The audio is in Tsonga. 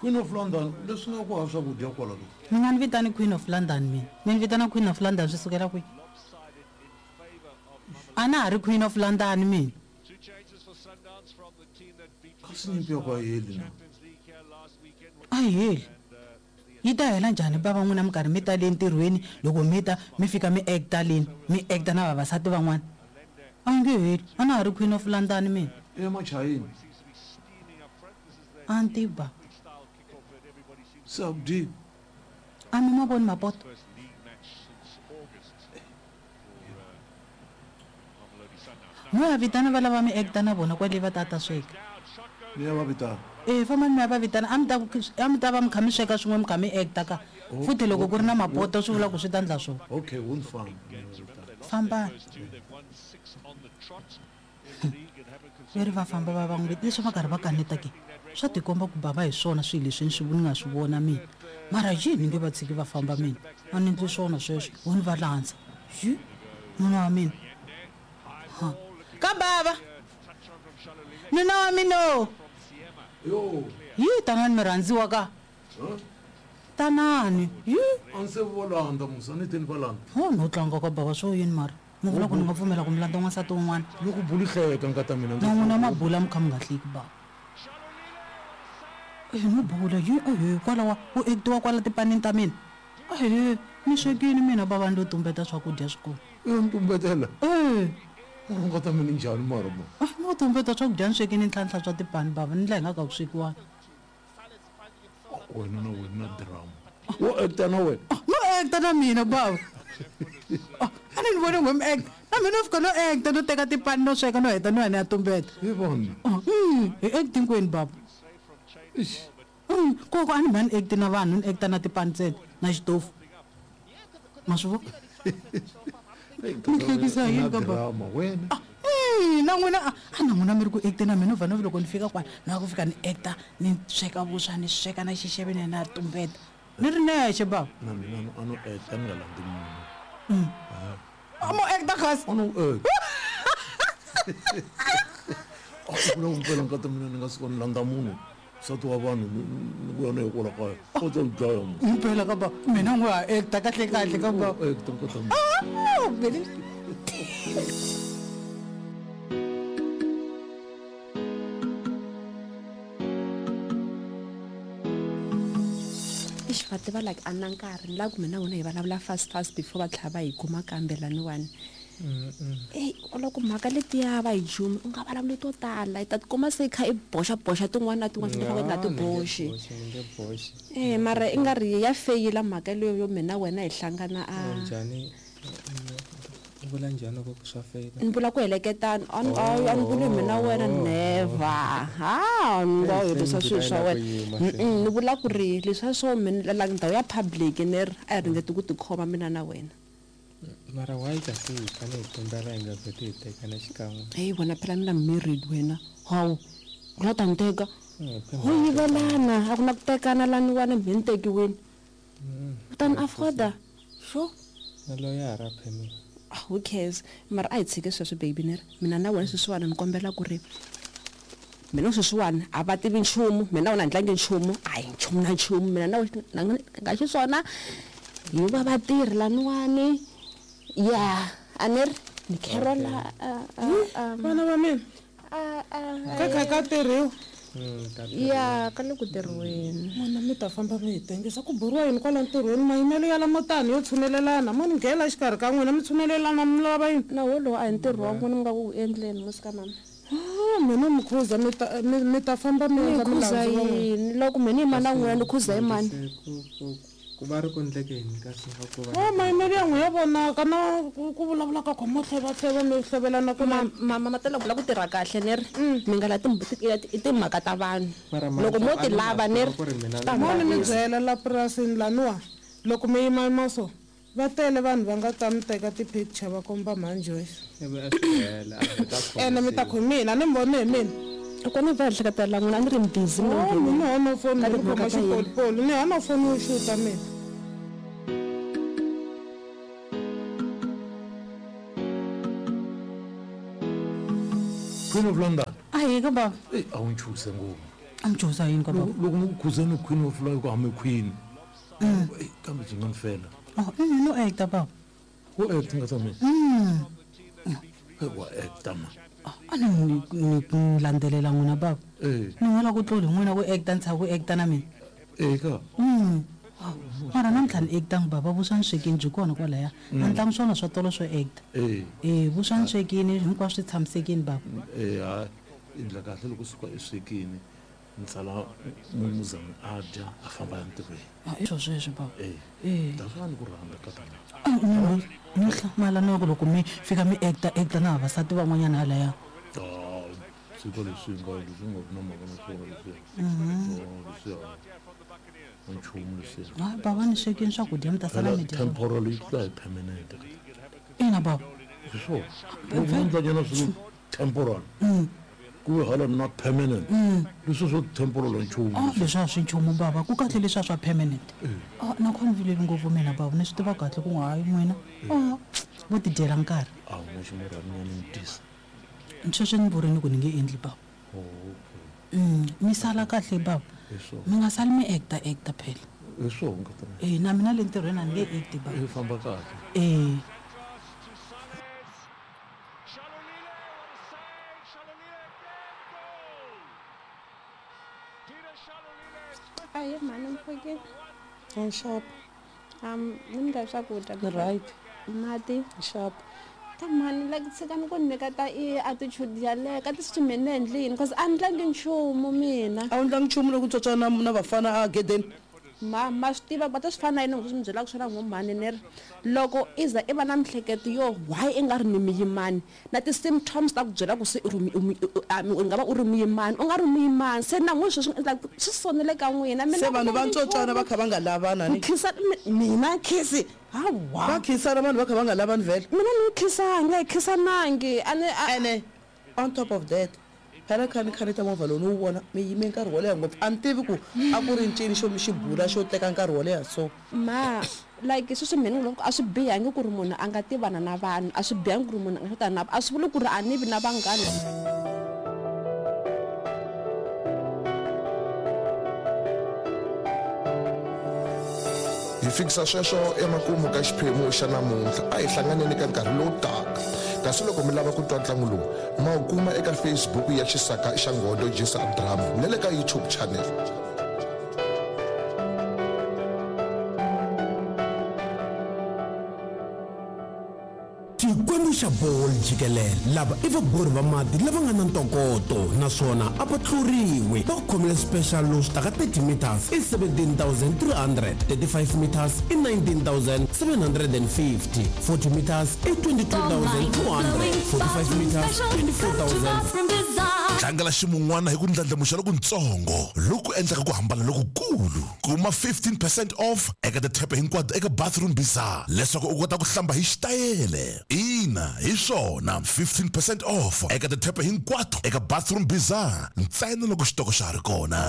Queen of London leswi nga ku hava swakudya kwala ke? Mi nga ni vitani Queen of London mina. Mi ni vitana Queen of London swi sukela kwihi? A na ha ri Queen of London mina. Kasi nyimpi ya ku a yi heli na? A yi heli. Yi ta hela njhani bava n'wina mi karhi mi ta le ntirhweni loko mi ta mi fika mi acta leni mi acta na vavasati van'wana? A yi nge heli. A na ha ri Queen of London mina. Emachayini. A ni tivi bava. Se a ku dyiwi. A mi ma voni mapoto? Mo ya vitana va lava mi acta na vona kwale va ta ta sweka. Ni ya va vitana. E fambani mi ya va vitana a mi ta a mi ta va mi kha mi sweka swin'we mi kha mi acta ka. Futhi loko ku ri na mapoto swi vula ku swi ta ndla swona. Okay, wo ni famba ni ya va vitana. Fambani. Ve ri va famba va va n'wi leswi va karhi va kaneta ke swa tikomba ku bava hi swona swilo leswi ni swi ni nga swi vona mina mara yini nge va tshiki va famba mina a ni ndli swona sweswo wo ni va landza yi nuna wa mina ha ka bava nuna wa mina o yi tanani mi rhandziwa ka tanani yi a ni se vo landza musa ni teni va landza ho no tlanga ka bava swo yini mara Mi vula ku ni nga pfumela ku mi landza n'wansati un'wana? Loko bulu hleka nkata mina ndzi. Na n'wina ma bula mi kha mi nga hleki bava. Ehe no bula yi ehe kwalawa ku actiwa kwala tipanini ta mina. Ehe ni swekini mina bava ni lo tumbeta swakudya swi kona. U yo ni tumbetela? Ehe. Mara nkata mina njhani mara ma? Ah no tumbeta swakudya ni swekini ni tlhela ni hlantswa tipani bava ni ndla hi nga ka ku swekiwanga. Wena na wena na drama. Wo acta na wena? No acta na mina bava. A ni ni voni n'we mi acta. Na mina no fika no acta no teka tipani no sweka no heta no ya ni ya tumbeta. He vanhu. Hi act hinkwenu bava. Eish. Koko a ni mhani act na vanhu ni acta na tipani ntsena na xitofu. Ma swi vona? Mi hlekisa hi yini ka bava? Drama wena. Na n'wina a na n'wina mi ri ku acteni na mina no vha no loko ni fika kwala ni nga ku fika ni acta ni sweka vuswa ni sweka na xixeve ni ya ni ya tumbeta ni ri nexe bava. Na mina a no acta ni nga landzi munhu. A mo acta kasi. A no acta. A ku vula ku mpela nkata mina ni nga suka ni landza munhu nsati wa vanhu ni vuya na ye kwala kaya u ta ni dlaya mo. Mpela ka bava mina n'we ha acta kahle kahle ka bava. Acta nkata mina. Eish va tiva like a na nkarhi ni lava ku mina na wena hi vulavula fast fast before va tlhela va hi kuma kambe laniwani eyi loko mhaka letiya va hi jumi u nga vulavuli to tala i ta tikuma se i kha i boxa boxa tin'wana na tin'wana ti fanele nga ti boxi e mara i nga ri ya feyila mhaka leyo yo mina wena hi hlangana a njhani u vula njhani loko ku swa feyila ni vula ku heleketana a ni a ni vuli mina wena never ha ni nga herisa swilo swa wena ni vula ku ri leswiya swo mina like ndhawu ya public ni ri a hi ringeti ku tikhoma mina na wena Mara why kasi hi fane hi tumbela hi nga vheti hi tekana xikan'we? Heyi wena phela ni la married wena hawu u la ta ni teka ho yivelana a ku na ku tekana laniwani mhe ni tekiwini u ta ni afforda sure Na loyara phe mina. Ah, who cares mara a hi tshike sweswo baby ni ri mina na wena sweswiwani ni kombela ku ri mina sweswiwani a va tivi nchumu mina na wena a ni tlangi nchumu a hi nchumu na nchumu mina na wena nga xiswona hi va vatirhi laniwani ya a ni ri ni carola vana va mina ka kha ka tirhiwa ya ka le ku tirhiweni n'wana mi ta famba mi hi tengisa ku buriwa yini kwala ntirhweni mayimelo ya lamo tani yo tshunelelana mo ni nghena exikarhi ka n'wina mi tshunelelana mi lava yini na wolowo a hi ntirho wa n'wina mi nga ku wu endleni musika mama Ah, mina mi khuza mi ta mi mi ta famba mi ni endla khuza milandzu wa n'wina yini loko mina ni yima na n'wina ni khuza hi mani Se ku ku ku va ri ku ndleke yini kasi nga ku va o mayimelo ya n'wi ya vonaka na ku ku vulavula ka khoma hlevahleva mi hlevelana ku Ma- mama ma tela vula ku tirha kahle ni ri mi nga la i timhaka ta vanhu Mara loko mhani, mo a ti ni nga lava swi ni ri tiva ku ri mina ta mo ni mi vavisa. byela la purasini laniwa loko mi yimayima so Va tele vanhu va nga ta mi teka ti picture va komba mhani Joyce. Ivi a swi hela, a heta a Ene mi ta khomisiwa. ku hi mina, a ni mi voni hi mina. Loko ni va ehleketa la n'wina a ni ri busy mina Oh, mina hana foni Ka ni timhaka khoma ta yena. xipolipoli ni hana foni yo xuta mina. Queen of London. Ahee ka bava. Eyi a wu nchuse ngopfu. A mi chuhisa yini ka baba? Loko ni ku khuzeni khwini wa fulayi ku hame khwini. Ei, kambe byi nga ni fela. Oh, i no acta baba. Wo acta nga ta mina. Hey, wa acta ma. A ni ni ni landzelela n'wina baba. Eh. Ni n'wela ku tluli n'wina ku acta ni tshika ku acta na mina. Eh ka. Mara namuntlha ni actangi baba vuswa ni swekini byi kona kwalaya. A ni tlangi swona swa tolo swo acta. Eh. Eh, vuswa ni swekini hinkwaswo swi tshamisekini baba. Eh, ha endla kahle loko suka eswekini ni sala mumuzani a dya a famba ya ntirhweni. Ah, i swo sweswo baba. Eh. Eh. That's why ni ku rhandza ka tana. Ni hlamala na ku loko mi fika mi acta acta na vavasati van'wanyana halaya. Ah, tshika leswi nga leswi nga na mhaka na swona leswiya. Oh, leswiya. A nchumu leswiya. Hayi baba ni swekini swakudya mi ta sala Phela mi dya. temporal yi tlula hi permanent. Ina baba. Hi swona. Loko u endla nyana swilo temporal. Ku ve hala na permanent. Leswi swo temporal a nchumu. Ah, leswi a swi nchumu baba ku kahle leswiya swa permanent. Ah, na kho ni vileli ngopfu mina baba ni swi tiva kahle ku hayi n'wina. Ah, vo ti dyela nkarhi. A wu na ximurhani ni dyisa. Sweswi ni vurini ku ni nge endli baba. Oh, okay. Mi sala kahle baba. Hi swona. Mi nga sali mi acta acta phela. Hi swona nkata. Eh, na mina le ntirhweni a ni nge acti baba. I famba kahle. Eh. Ahee mhani mpfhukini. Nxapo. Ni mi endla swakudya. Ni right. Mati. Nxapo. Ta mhani like tshikani ku ni nyika ta i attitude yaleyo ka ti mina ni endli yini cause a ni tlangi nchumu mina. A wu ndlangi nchumu loko tswatswa na na vafana a gedeni. Ma ma swi tiva va ta swi fana na yini loko swi mi byelaka swona ngo mhani ni ri loko i za i va na miehleketo yo why i nga ri ni muyimani na ti-symptoms ta ku byela ku se i ri u nga va u ri muyimani u nga ri muyimani se na n'wina sweswi swi endla swi sonele ka n'wina mina Se vanhu va ntsotswana va kha va nga lavana ni. Khisa mina khisi hawa. Va khisana vanhu va kha va nga lavani vhele. Mina ni khisanga hi khisanangi a ni Ene on top of that phela kha ni kha ni ta movha lowu ni wu vona mi yime nkarhi wo leha ngopfu a ni tivi ku a ku ri ncini xo mi xi bula xo teka nkarhi wo leha so. Ma like sweswi mina ni loko a swi bihangi ku ri munhu a nga tivana na vanhu a swi bihangi ku ri munhu a nga xotana na a swi vuli ku ri a ni vi na vanghana. Hi fikisa sweswo emakumu ka xiphemu xa namuntlha. A hi hlanganeni ka nkarhi lowu taka. Kasi loko mi lava ku twa ntlangu lowu, ma wu kuma eka Facebook ya Xisaka xa Nghondo Jisa Drama na le ka YouTube channel. Xikwembu xa Ball jikelele lava i vabori va mati lava nga na ntokoto naswona a va tluriwi. Va ku khomele special lowu swi taka 30 meters i 17,300, 35 meters i 19,750, 40 meters i 22,200, 45 meters 24,000. Tlangela ximun'wana hi ku ndlandlamuxa lokuntsongo loku endlaka ku hambana lokukulu. Kuma 15 percent off eka tithepe hinkwato eka Bathroom Bizarre leswaku u kota ku hlamba hi xitayele. Ina, hi swona, 15 percent off eka tithepe hinkwato eka Bathroom Bizarre ntsena loko xitoko xa ha ri kona.